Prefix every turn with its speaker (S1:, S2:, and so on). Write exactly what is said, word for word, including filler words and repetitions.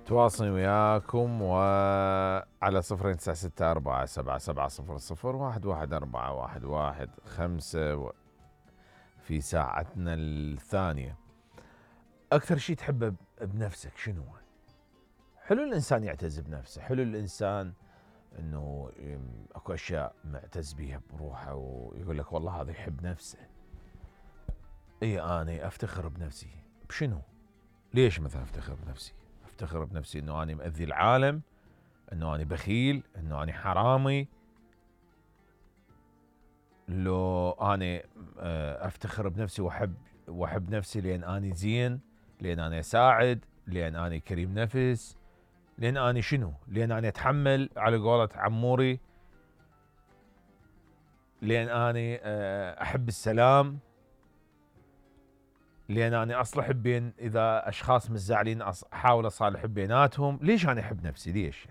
S1: تواصلي وياكم وعلى صفرين تسعة ستة أربعة سبعة سبعة صفر صفر واحد واحد أربعة واحد واحد خمسة في ساعتنا الثانية. أكثر شيء تحبه بنفسك شنو؟ حلو الإنسان يعتز بنفسه، حلو الإنسان إنه أكو أشياء معتز بيها بروحه ويقول لك والله هذا يحب نفسه. إيه أنا أفتخر بنفسي بشنو؟ ليش مثلا أفتخر بنفسي؟ أفتخر بنفسي إنه أنا مأذي العالم، إنه أنا بخيل، إنه أنا حرامي. لو أنا أفتخر بنفسي وأحب وأحب نفسي لأن أنا زين، لأن أنا أساعد، لأن أنا كريم نفس، لأن أنا شنو؟ لأن أنا أتحمل على قولة عموري، لأن أنا أحب السلام، لأن أنا أصلح بين إذا أشخاص متزاعلين أحاول أصالح بيناتهم. ليش أنا أحب نفسي؟ ليش؟